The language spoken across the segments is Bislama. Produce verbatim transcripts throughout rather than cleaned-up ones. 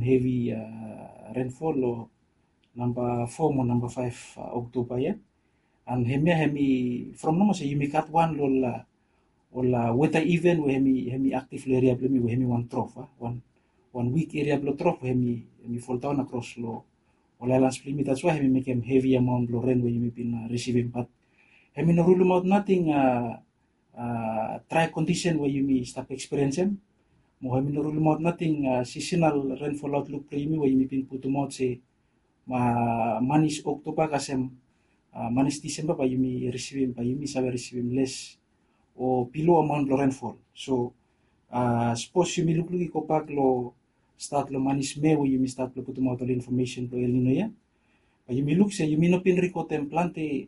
hevi rainfall long namba four mo namba five Oktoba ia. And hemia hemi from nomo se yumi gat wan long ol ol weather event we hemi hemi active long area bilong yumi we hemi wan trough a wan wan weak area bilong trough we hemi hemi fall down across long ol islands bilong yumi. That's why hemi mekem hevi amount long rain we yumi bin risivim, but hemi no rulimaot nating dry condition we yumi stap experiencem. Mo hemi no rulimaot nating seasonal rainfall outlook bilong yumi we yumi bin putumaot se manis Oktoba kasem manis Disemba bae yumi risivim, bae yumi save risivim les o below amount bilong rainfall. So sapos yumi lukluk i gobak long stat long manis Mei we yumi stat long putumaot ol information bilong El Nino ia, bae yumi luk se yumi no bin rekodem plante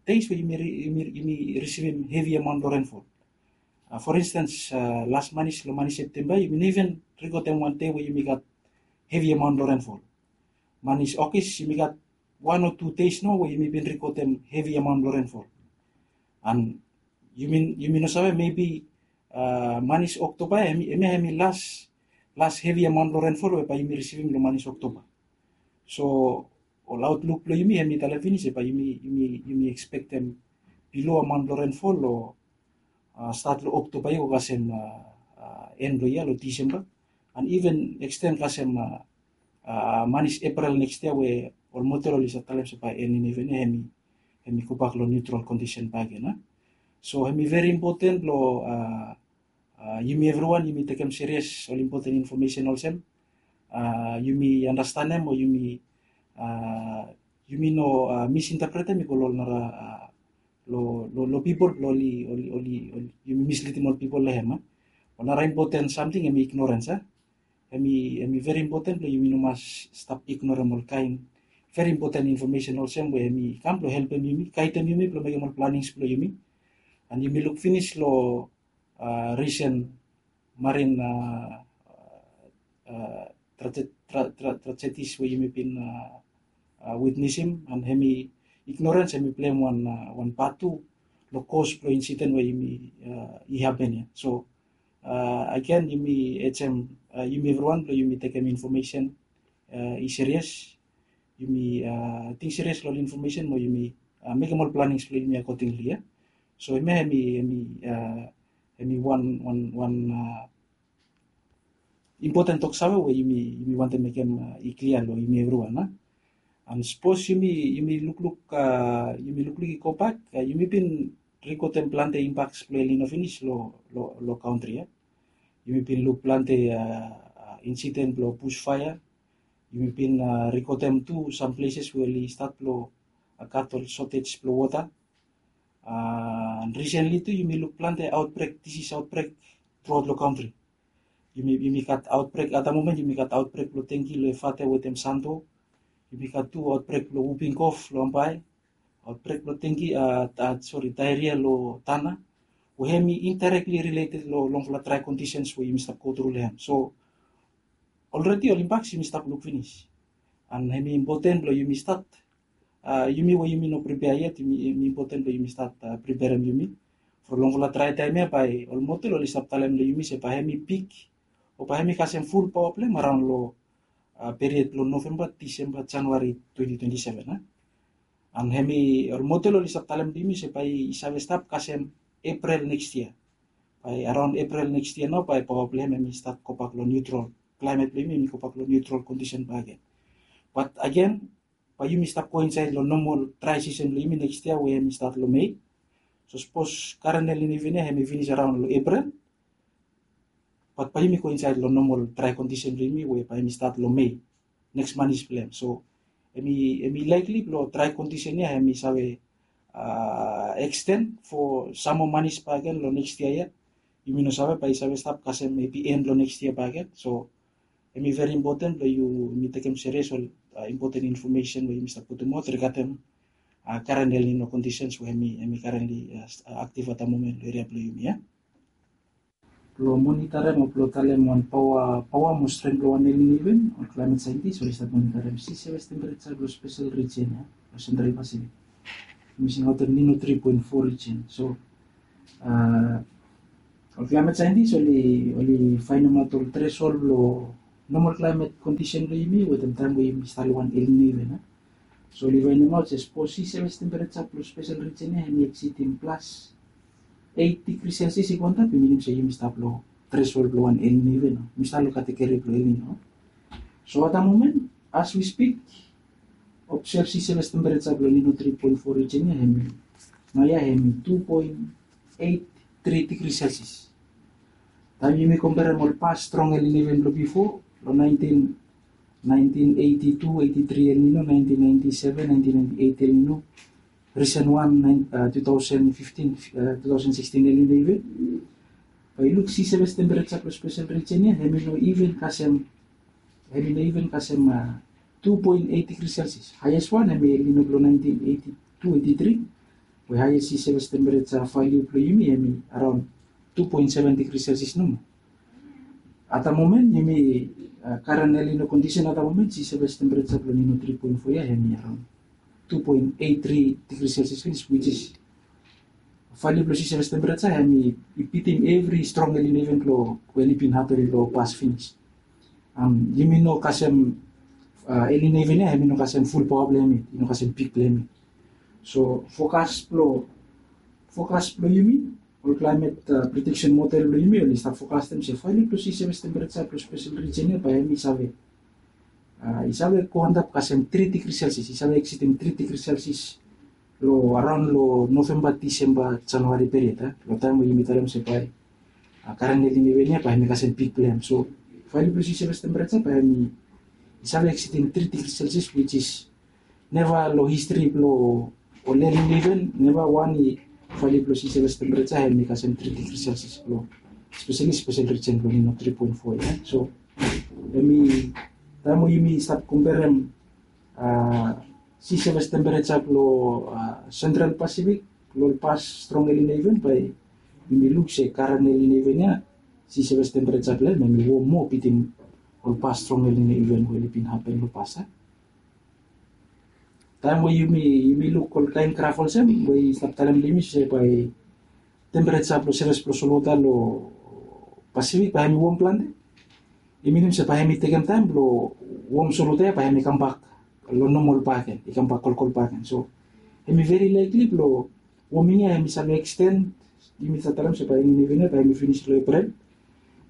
days we yumi risivim hevi amount bilong rainfall. For instance, las manis long manis Septemba yumi no even rekodem wan dei we yumi gat hevi amount bilong rainfall. Manis Okis yumi gat wan o tu days nao we yumi bin rekodem hevi amount bilong rainfall. And yumi no save, maybe manis Oktoba hemia hemi las las hevi amount bilong rainfall we bae yumi risivim long manis Oktoba. So ol outlook bilong yumi hemi talem finis se bae yumi yumi yumi expectem below amount bilong rainfall long stat long Oktoba ia go kasem en bilong ia long Disemba. And even extend kasem manis April next year we ol motel oli save talem se bae El Nino event ia hemi hemi gobak long neutral condition bakegen a. So hemi very important long yumi evriwan yumi tekem serious ol important information olsem. Yumi andastanem o yumi yumi no misinterpretem i go long ol nara long pipol bilong oli oli oli yumi mislidim ol pipol long hem a. Ol nara important samting hemi ignorance a. Hemi hemi very important bilong yumi no mas stap ignorem ol kain very important information olsem we hemi kam bilong helpem yumi, gaidem yumi bilong mekem ol planings bilong yumi. And yumi luk finis long risen marin tragedies we yumi bin witnessim, and hemi ignorance hemi pleim wan wan part tu long cause bilong incident we yumi i happen ia. So again yumi ejam yumi evriwan bilong yumi tekem information i serious. Yumi ting serious long ol information mo yumi mekem ol plannings bilong yumi accordingly ia. So hemia hemi hemi hemi wan wan wan important toksave we yumi yumi wantem mekem i klia long yumi evriwan a. And sapos yumi yumi lukluk yumi lukluk i gobak, yumi bin rekodem plante impaks bilong El Nino finis long long kantri ia. Yumi bin luk plante incident bilong bushfire. Yumi bin rekodem tu some places we oli stat bilong gat ol shortage bilong wota. And recently tu yumi luk plante outbreak, disease outbreak throughout long kantri. Yumi yumi gat outbreak at the moment, yumi gat outbreak bilong dengue long Efate wetem Santo. Yumi gat tu outbreak bilong whooping cough long Ambae, outbreak bilong dengue, sorry, diarrhea long Tanna, we hemi indirectly related long longfala dry conditions we yumi stap go tru long hem. So already ol impaks yumi stap luk finis. And hemi important bilong yumi stat, yumi we yumi no prepare yet, hemi important bilong yumi stat preperem yumi from longfala dry taem ia bae ol motel oli stap talem long yumi se bae hemi pik o bae hemi kasem ful paoa bilong hem araon long period bilong Novemba, Disemba, Januari twenty twenty seven a. And hemi ol motel oli stap talem long yumi se bae i save stap kasem April next year. Bae araon April next year nao bae paoa bilong hem hemi stat gobak long neutral, climate bilong yumi hemi gobak long neutral condition bakegen. But again, bae yumi stap go insaed long normal dry season bilong yumi next year we hemi stat long Mei. So sapos karen El Nino event ia hemi finis araon long April, bat bae yumi go insaed long normal dry condition bilong yumi we bae hemi stat long Mei, next manis bilong hem. So hemi hemi likely bilong dry condition ia hemi save extend for some more manis bakegen long next year ia. Yumi no save bae i save stap kasem maybe end long next year bakegen. So hemi very important bilong yumi tekem serious ol important information we yumi stap putumaot regarding current El Nino conditions we hemi hemi currently active at the moment long area bilong yumi ia. Bilong monitarem o bilong talem wan paoa paoa mo strength bilong wan El Nino event, ol climate scientist oli stap monitarem sea surface temperature bilong special region ia, long Central Pacific. Yumi singaotem Nino three point four region. So ol climate scientist oli oli fainimaot ol threshold bilong normal climate condition blong yumi wetem taem we yumi stap long wan El Nino event. So oli vaenemaot se sapos si seves tempereja blong spesel rijen ya hemi eksidim plas eit digri Celsius i go antap, i minim se yumi stap long threshold blong wan El Nino event. Yumi stap long kategori blong El Nino. So at the moment, as we speak, observe si seves tempereja blong El Nino three point four rijen ya hemi, naoia hemi two point eight three digri Celsius. Taem yumi komperem ol past strong El Nino event blong bifo, long nineteen, nineteen eighty-two, eighty-three El Nino, nineteen ninety-seven, nineteen ninety-eight El Nino, recent wan, nine, uh, two thousand fifteen, uh, two thousand sixteen El Nino event. Bae yu luk si seves tempereja blong spesel rijen ya hemi no even kasem, hemi no even kasem, uh, two point eight digri Celsius. Highest wan hemi El Nino blong nineteen eighty-two eighty-three, we highest si seves tempereja value blong yumi hemi around two point seven digri Celsius nomo. At the moment, yumi, uh, current El Nino condition at the moment, si seves tempereja blong El Nino three point four ya hemi around two point eight three digri Celsius finis, which is value blong si seves tempereja hemi, i bitim evri strong El Nino event blong we oli bin hapen long past finis. Um, yumi no kasem, uh, El Nino event ya hemi no kasem full power blong hemi, i no kasem peak blong hemi. So forecast blong, forecast blong yumi, ol climate, uh, prediction model blong yumi oli stap forecastem se value blong si seves tempereja blong spesel rijen ya bae hemi save, uh, i save go antap kasem three digri Celsius, i save eksidim three digri Celsius long around long November, December, January period, uh, long taem we yumi talem se bae, uh, current El Nino event ya bae hemi kasem peak blong hem. So value blong si seves tempereja bae hemi, i save eksidim three digri Celsius, which is neva long history blong ol El Nino event, neva wan i value blong si seves tempereja hemi kasem three digri Celsius blong, especially spesel rijen blong El Nino three point four ya. So hemi, taem we yumi stap komperem, uh, si seves tempereja blong, uh, Central Pacific long ol past strong El Nino event, bae yumi luk se current El Nino event ya, si seves tempereja blong hem hemi wom moa bitim ol past strong El Nino event we oli bin hapen long past ya. Taem we yumi, yumi luk ol kaen graf olsem we i stap talem long yumi se bae tempereja blong seves blong solwota long Pacific bae hemi wom plante, i minim se bae hemi tekem taem blong wom solwota ya bae hemi kambak long normal bakegen, i kambak kolkol bakegen. So hemi very likely blong warming ya hemi save extend, yumi stap talem se bae El Nino event ya bae hemi finis long April,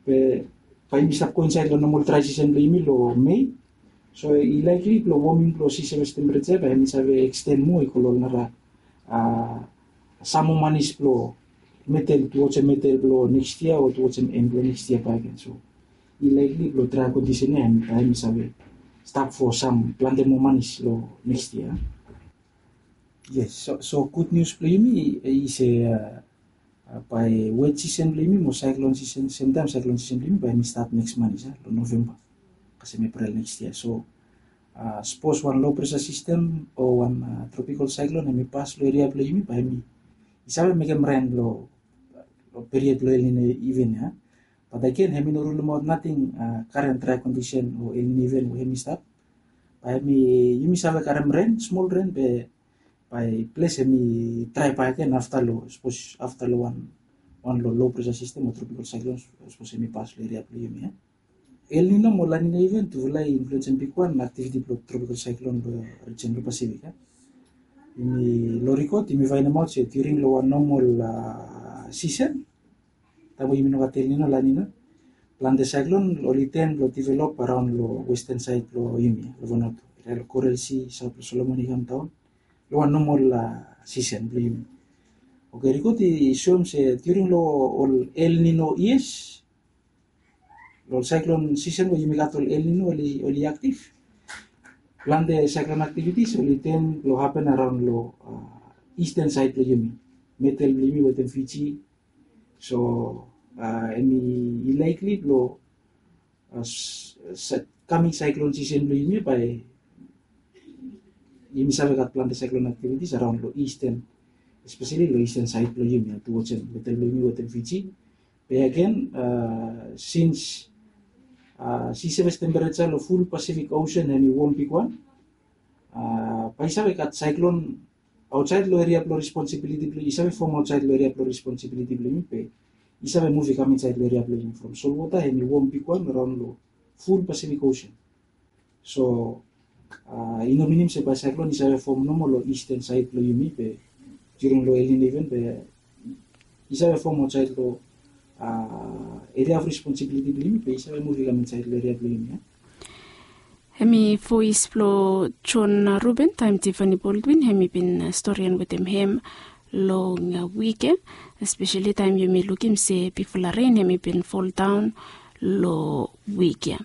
be bae yumi stap go insaed long normal dry season blong yumi long May. So i likely blong warming blong si seves tempereja bae hemi save extend moa i go long ol nara, uh, sam moa manis blong middle, towards the middle blong next year o towards the end blong next year bakegen. So i likely blong dry condition ya hemi, hemi save stap for sam plante moa manis long next year. Yes, so, so good news blong yumi i se, uh, uh, bae wet season blong yumi mo cyclone season, same time cyclone season blong yumi bae hemi start next month ya, long November kasem April next year. So, uh, sapos wan low pressure system o wan, uh, tropical cyclone hemi pas long area blong yumi, bae hemi i save mekem ren long, long period blong El Nino event ya. But again, hemi no rulemaot nating, uh, current dry condition o El Nino event we hemi stap. Bae hemi, yumi save karem ren, smol ren, be bae ples hemi dry bakegen afta long, sapos afta long wan, wan long low pressure system o tropical cyclone, sapos hemi pas long area blong yumi ya. El Nino mo La Nina event tufala i influensem bigwan aktiviti blong tropical cyclone long rijen blong Pacific ya. Yumi long rikod yumi faenemaot se during long wan normal, uh, season, taem we yumi no gat El Nino, La Nina, plante cyclone oli ten blong develop around long western side blong yumi ya, long Vanuatu, eria long Coral Sea, saot blong Solomon i kam daon long wan normal, uh, season blong yumi. Okay, rikod i soem se during long ol El Nino years, long ol cyclone season we yumi gat ol El Nino oli, oli active, plante cyclone activities oli ten blong happen around long, uh, eastern side blong yumi, middle blong yumi wetem Fiji. So, uh, hemi likely blong, uh, coming cyclone season blong yumi bae yumi save gat plante cyclone activities around long eastern, especially long eastern side blong yumi ya, towards middle blong yumi wetem Fiji. Be again, uh, since, uh, si seves temperature long full Pacific Ocean hemi wom bigwan, uh, bae i save gat cyclone aotsaed long eria blong responsibiliti blong yumi, i save fom aotsaed long eria blong responsibiliti blong yumi, be i save muv i kam insaed long eria blong yumi from solwota hemi wom bigwan around long ful Pacific Ocean. So i no minim se bae saiklon i save fom nomo long eastern saed blong yumi be during long El Nino event be i save fom aotsaed long area of responsibility blong yumi be i save muv i kam insaed long area blong yumi. Hem i voes blong John Ruben taem Tiffany Baldwin hem i bin storian wetem hem long wik ya, espeseli taem yumi lukim se bigfala ren hem i bin foldaon long wik ya.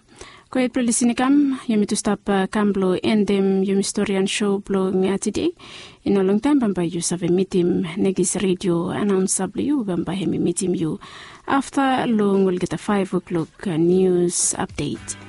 Go hed blong lisin i kam, yumi tu stap kam blong endem yumi storian sho blong tede. I no longtaem bambae yu save mitim nekis redio anaonsa blong yu bambae hem i mitim yu afta long olgeta faef oklok nius apdet.